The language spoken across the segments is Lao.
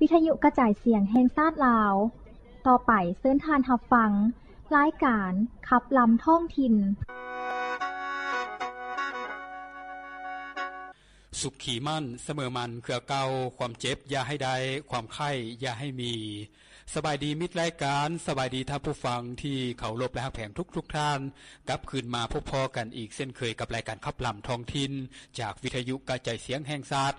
ວິທະຍຸກະຈາຍສຽງແຫ່ງຊາດລາວ. ຕໍ່ໄປເຊີນທ່ານຮັບຟັງລາຍການຂັບລຳທ້ອງຖິ່ນ. ສຸກຂີໝັ້ນສະເໝີໝັ້ນເຄືອເກົ່າ, ຄວາມເຈັບຢ່າໃຫ້ໄດ້, ຄວາມໄຂ້ຢ່າໃຫ້ມີ. ສະບາຍດີມິດລາຍການ, ສະບາຍດີທ່ານຜູ້ຟັງທີ່ເຄົາລົບ ແລະ ຮັກແພງທຸກໆທ່ານ, ກັບຄືນມາພົບພໍ້ກັນອີກເຊັ່ນເຄີຍກັບລາຍການຂັບລຳທ້ອງຖິ່ນ ຈາກວິທະຍຸກະຈາຍສຽງແຫ່ງຊາດ.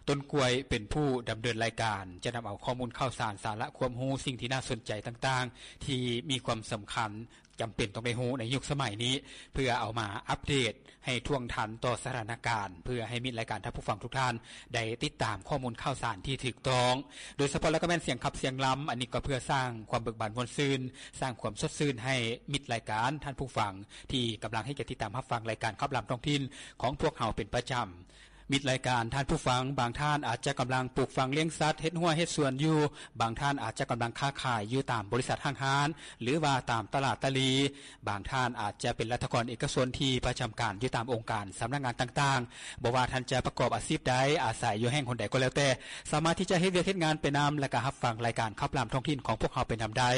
ຕົ້ນກ້ວຍເປັນຜູ້ດຳເນີນລາຍການ, ຈະນຳເອົາຂໍ້ມູນຂ່າວສານ, ສາລະຄວາມຮູ້, ສິ່ງທີ່ໜ້າສົນໃຈຕ່າງໆ ທີ່ມີຄວາມສຳຄັນ ຈຳເປັນຕ້ອງໄດ້ຮູ້ໃນຍຸກສະໄໝນີ້ ເພື່ອເອົາມາອັບເດດໃຫ້ທ່ວງທັນຕໍ່ສະຖານະການ, ເພື່ອໃຫ້ມິດລາຍການທ່ານຜູ້ຟັງທຸກທ່ານໄດ້ຕິດຕາມຂໍ້ມູນຂ່າວສານທີ່ຖືກຕ້ອງ, ໂດຍສະເພາະແລ້ວກໍແມ່ນສຽງຂັບສຽງລຳ. ອັນນີ້ກໍເພື່ອສ້າງຄວາມເບີກບານມ່ວນຊື່ນ, ສ້າງຄວາມສົດຊື່ນໃຫ້ມິດລາຍການທ່ານຜູ້ຟັງ ທີ່ກຳລັງໃຫ້ກຽດຕິດຕາມຮັບຟັງລາຍການຂັບລຳທ້ອງຖິ່ນຂອງພວກເຮົາເປັນປະຈຳ. ມິດລາຍການທ່ານຜູ້ຟັງ, ບາງທ່ານອາດຈະກຳລັງປູກຝັງລ້ຽງສັດ, ເຮັດຮົ້ວເຮັດສວນຢູ່, ບາງທ່ານອາດຈະກຳລັງຄ້າຂາຍຢູ່ຕາມບໍລິສັດຫ້າງຮ້ານ ຫຼືວ່າຕາມຕະຫຼາດຕະຫຼີ່, ບາງທ່ານອາດຈະເປັນລັດຖະກອນເອກະຊົນທີ່ປະຈຳການຢູ່ຕາມອົງການສຳນັກງານຕ່າງໆ. ບໍ່ວ່າທ່ານຈະປະກອບອາຊີບໃດ, ອາໄສຢູ່ແຫ່ງຫົນໃດກໍແລ້ວແຕ່, ສາມາດທີ່ຈະເຮັດວຽກເຮັດງານໄປນຳ ແລະ ກະຮັບຟັງລາຍການຂັບລຳທ້ອງຖິ່ນຂອງພວກເຮົາໄປນຳໄດ້.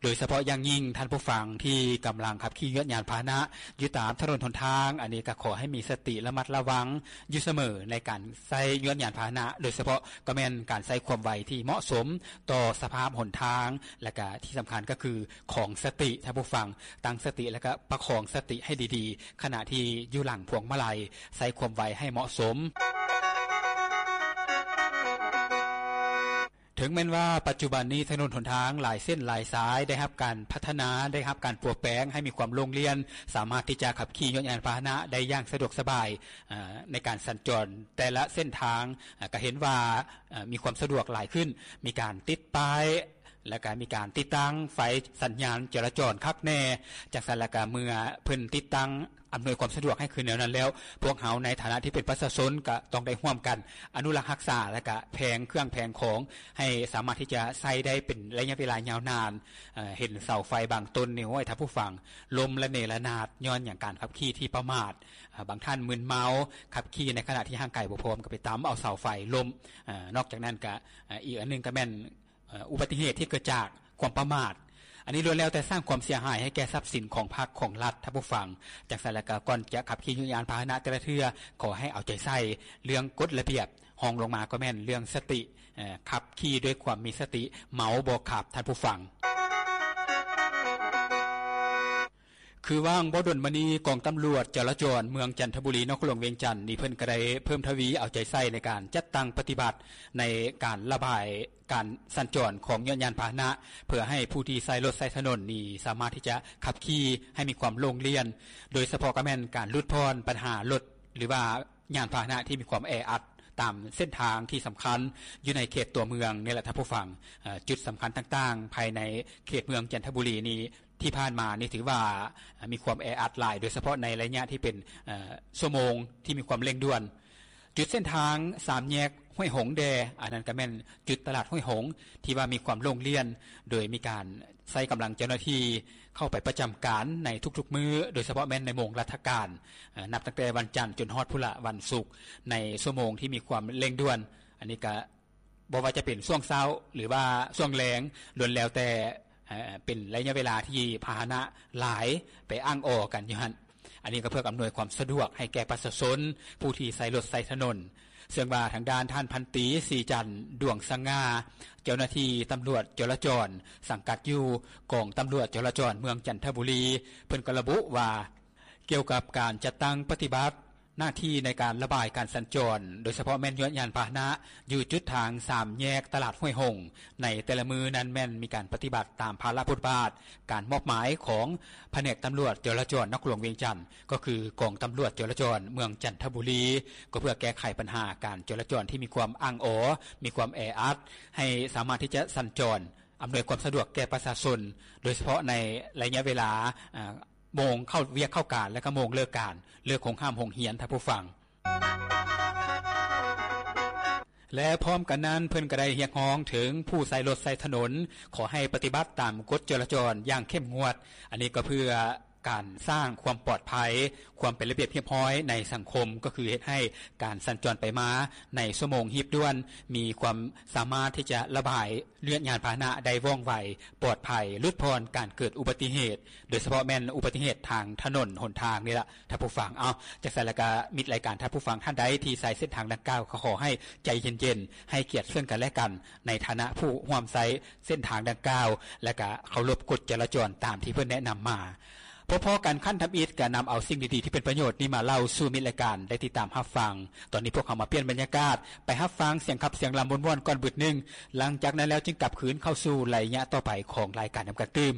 ໂດຍສະເພາະຢ່າງຍິ່ງທ່ານຜູ້ຟັງທີ່ກຳລັງຂັບຂີ່ຍວດຍານພາຫະນະຢູ່ຕາມຖະໜົນຫົນທາງ, ອັນນີ້ກໍຂໍໃຫ້ມີສະຕິລະມັດລະວັງຢູ່ສະເໝີໃນການໃຊ້ຍວດຍານພາຫະນະ, ໂດຍສະເພາະກໍແມ່ນການໃຊ້ຄວາມໄວທີ່ເໝາະສົມຕໍ່ສະພາບຫົນທາງ, ແລະ ກະທີ່ສຳຄັນກໍຄືຄອງສະຕິ, ທ່ານຜູ້ຟັງຕັ້ງສະຕິ ແລະ ກະປະຄອງສະຕິໃຫ້ດີໆ ຂະນະທີ່ຢູ່ຫຼັງພວງມາໄລ, ໃຊ້ຄວາມໄວໃຫ້ເໝາະສົມ. ເຖິງແມ່ນວ່າປັດຈຸບັນນີ້ຖະໜົນຫົນທາງຫຼາຍເສັ້ນຫຼາຍສາຍໄດ້ຮັບການພັດທະນາ, ໄດ້ຮັບການປົວແປງໃຫ້ມີຄວາມໂລ່ງລ່ຽນ, ສາມາດທີ່ຈະຂັບຂີ່ຍວດຍານພາຫະນະໄດ້ຢ່າງສະດວກສະບາຍ, ເອີ່, ໃນການສັນຈອນແຕ່ລະເສັ້ນທາງ, ເອີ່, ກໍເຫັນວ່າ, ເອີ່, ມີຄວາມສະດວກຫຼາຍຂຶ້ນ, ມີການຕິດປ້າຍ ແລ້ວກໍມີການຕິດຕັ້ງໄຟສັນຍານຈະລາຈອນຄັກແນ່. ຈັ່ງຊັ້ນແລ້ວກໍເມື່ອເພິ່ນຕິດຕັ້ງ ອຳນວຍຄວາມສະດວກໃຫ້ຄືແນວນັ້ນແລ້ວ, ພວກເຮົາໃນຖານະທີ່ເປັນປະຊາຊົນກໍຕ້ອງໄດ້ຮ່ວມກັນອະນຸລັກຮັກສາ ແລະ ກະແຜງເຄື່ອງແຜງຂອງໃຫ້ສາມາດທີ່ຈະໃຊ້ໄດ້ເປັນໄລຍະເວລາຍາວນານ. ເອີ່, ເຫັນເສົາໄຟບາງຕົ້ນນີ້, ໂອ້ຍ, ທ່ານຜູ້ຟັງ, ລົ້ມລະເນລະນາດຍ້ອນຫຍັງ? ການຂັບຂີ່ທີ່ປະໝາດ. ເອີ່, ບາງທ່ານມຶນເມົາ, ຂັບຂີ່ໃນຂະນະທີ່ຮ່າງກາຍບໍ່ພ້ອມ, ກໍໄປຕຳເອົາເສົາໄຟລົ້ມ. ເອີ່, ນອກຈາກນັ້ນກໍ, ເອີ່, ອີກອັນໜຶ່ງກໍແມ່ນ ເອີ່, ອຸບັດຕິເຫດທີ່ເກີດຈາກຄວາມປະໝາດ. ອັນນີ້ລ້ວນແລ້ວແຕ່ສ້າງຄວາມເສຍຫາຍໃຫ້ແກ່ຊັບສິນຂອງພັກຂອງລັດ, ທ່ານຜູ້ຟັງ. ຈັ່ງຊັ້ນແລ້ວກໍ ກ່ອນຈະຂັບຂີ່ຍານພາຫະນະແຕ່ລະເທື່ອ, ຂໍໃຫ້ເອົາໃຈໃສ່ເລື່ອງກົດລະບຽບ. ຮອງລົງມາກໍແມ່ນເລື່ອງສະຕິ, ເອີ່, ຂັບຂີ່ດ້ວຍຄວາມມີສະຕິ, ເມົາບໍ່ຂັບ, ທ່ານຜູ້ຟັງ. ຄືຫວ່າງບໍ່ດົນມານີ້, ກອງຕຳຫຼວດຈະລາຈອນເມືອງຈັນທະບູລີ, ນະຄອນຫຼວງວຽງຈັນນີ້, ເພິ່ນກໍໄດ້ເພີ່ມທະວີເອົາໃຈໃສ່ໃນການຈັດຕັ້ງປະຕິບັດໃນການລະບາຍການສັນຈອນຂອງຍານພາຫະນະ, ເພື່ອໃຫ້ຜູ້ທີ່ໃຊ້ລົດໃຊ້ຖະໜົນນີ້ສາມາດທີ່ຈະຂັບຂີ່ໃຫ້ມີຄວາມໂລ່ງລ່ຽນ, ໂດຍສະເພາະກໍແມ່ນການຫຼຸດຜ່ອນບັນຫາລົດ ຫຼືວ່າຍານພາຫະນະທີ່ມີຄວາມແອອັດຕາມເສັ້ນທາງທີ່ສຳຄັນຢູ່ໃນເຂດຕົວເມືອງນີ້ແຫຼະ, ທ່ານຜູ້ຟັງ. ເອີ່, ຈຸດສຳຄັນຕ່າງໆພາຍໃນເຂດເມືອງຈັນທະບູລີນີ້, ທີ່ຜ່ານມານີ້ຖືວ່າ, ເອີ່, ມີຄວາມແອອັດຫຼາຍ, ໂດຍສະເພາະໃນໄລຍະທີ່ເປັນ, ເອີ່, ຊົ່ວໂມງທີ່ມີຄວາມເລັ່ງດ່ວນ. ຈຸດເສັ້ນທາງສາມແຍກຫ້ວຍຫົງແດ່, ອັນນັ້ນກໍແມ່ນຈຸດຕະຫຼາດຫ້ວຍຫົງ ທີ່ວ່າມີຄວາມໂລ່ງລ່ຽນ, ໂດຍມີການໃຊ້ກຳລັງເຈົ້າໜ້າທີ່ເຂົ້າໄປປະຈຳການໃນທຸກໆມື້, ໂດຍສະເພາະແມ່ນໃນໂມງລັດຖະການ, ເອີ່, ນັບຕັ້ງແຕ່ວັນຈັນຈົນຮອດພຸ້ນລະ ວັນສຸກ, ໃນຊົ່ວໂມງທີ່ມີຄວາມເລັ່ງດ່ວນ. ອັນນີ້ກໍ ບໍ່ວ່າຈະເປັນຊ່ວງເຊົ້າ ຫຼືວ່າຊ່ວງແລງ, ລ້ວນແລ້ວແຕ່, ເອີ່, ເປັນໄລຍະເວລາທີ່ພາຫະນະຫຼາຍໄປອ້າງອໍກັນຢູ່ຫັ້ນ. ອັນນີ້ກໍເພື່ອອຳນວຍຄວາມສະດວກໃຫ້ແກ່ປະຊາຊົນຜູ້ທີ່ໃຊ້ລົດໃຊ້ຖະໜົນ, ເຊິ່ງວ່າທາງດ້ານທ່ານພັນຕີ ສີຈັນ ດວງສະຫງ່າ, ເຈົ້າໜ້າທີ່ຕຳຫຼວດຈະລາຈອນ ສັງກັດຢູ່ກອງຕຳຫຼວດຈະລາຈອນເມືອງຈັນທະບູລີ, ເພິ່ນກໍລະບຸວ່າ ກ່ຽວກັບການຈັດຕັ້ງປະຕິບັດ ໜ້າທີ່ໃນການລະບາຍການສັນຈອນ, ໂດຍສະເພາະແມ່ນຍວດຍານພາຫະນະ ຢູ່ຈຸດທາງສາມແຍກຕະຫຼາດຫ້ວຍຫົງ, ໃນແຕ່ລະມື້ນັ້ນແມ່ນມີການປະຕິບັດຕາມພາລະບົດບາດການມອບໝາຍຂອງພະແນກຕຳຫຼວດຈະລາຈອນນະຄອນຫຼວງວຽງຈັນ, ກໍຄືກອງຕຳຫຼວດຈະລາຈອນເມືອງຈັນທະບູລີ, ກໍເພື່ອແກ້ໄຂບັນຫາການຈະລາຈອນທີ່ມີຄວາມອ້າງອໍ, ມີຄວາມແອອັດ, ໃຫ້ສາມາດທີ່ຈະສັນຈອນ ອຳນວຍຄວາມສະດວກແກ່ປະຊາຊົນ, ໂດຍສະເພາະໃນໄລຍະເວລາ, ອາ, ໂມງເຂົ້າວຽກເຂົ້າການ ແລະ ກໍໂມງເລີກການ, ເລີກໂຮງຮ່ຳໂຮງຮຽນ, ທ່ານຜູ້ຟັງ. ແລະ ພ້ອມກັນນັ້ນ, ເພິ່ນກໍໄດ້ຮຽກຮ້ອງເຖິງຜູ້ໃຊ້ລົດໃຊ້ຖະໜົນ, ຂໍໃຫ້ປະຕິບັດຕາມກົດຈະລາຈອນຢ່າງເຂັ້ມງວດ. ອັນນີ້ກໍເພື່ອ ການສ້າງຄວາມປອດໄພ, ຄວາມເປັນລະບຽບຮຽບຮ້ອຍໃນສັງຄົມ ກໍຄືເຮັດໃຫ້ການສັນຈອນໄປມາໃນຊົ່ວໂມງຮີບດ່ວນ ມີຄວາມສາມາດທີ່ຈະລະບາຍເລືອດຍານພາຫະນະໄດ້ວ່ອງໄວ, ປອດໄພ, ຫຼຸດຜ່ອນການເກີດອຸບັດຕິເຫດ, ໂດຍສະເພາະແມ່ນອຸບັດຕິເຫດທາງຖະໜົນຫົນທາງນີ້ລະ ທ່ານຜູ້ຟັງ. ເອົາ, ຈັ່ງຊັ້ນລະກະ ມິດລາຍການ, ທ່ານຜູ້ຟັງທ່ານໃດທີ່ໃຊ້ເສັ້ນທາງດັ່ງກ່າວ ກໍຂໍໃຫ້ໃຈເຢັນໆ, ໃຫ້ກຽດເຊິ່ງກັນແລະກັນ ໃນຖານະຜູ້ຮ່ວມໃຊ້ເສັ້ນທາງດັ່ງກ່າວ ແລະກະເຄົາລົບກົດຈະລາຈອນຕາມທີ່ເພິ່ນແນະນຳມາ. ພໍ້ໆກັນຄັ້ງທຳອິດ ກະນຳເອົາສິ່ງດີໆທີ່ເປັນປະໂຫຍດນີ້ມາເລົ່າສູ່ມິດລາຍການໄດ້ຕິດຕາມຮັບຟັງ. ຕອນນີ້ພວກເຮົາມາປ່ຽນບັນຍາກາດ ໄປຮັບຟັງສຽງຂັບສຽງລຳມ່ວນໆກ່ອນບຶດໜຶ່ງ, ຫຼັງຈາກນັ້ນແລ້ວຈຶ່ງກັບຄືນເຂົ້າສູ່ໄລຍະຕໍ່ໄປຂອງລາຍການນຳກັນຕື່ມ.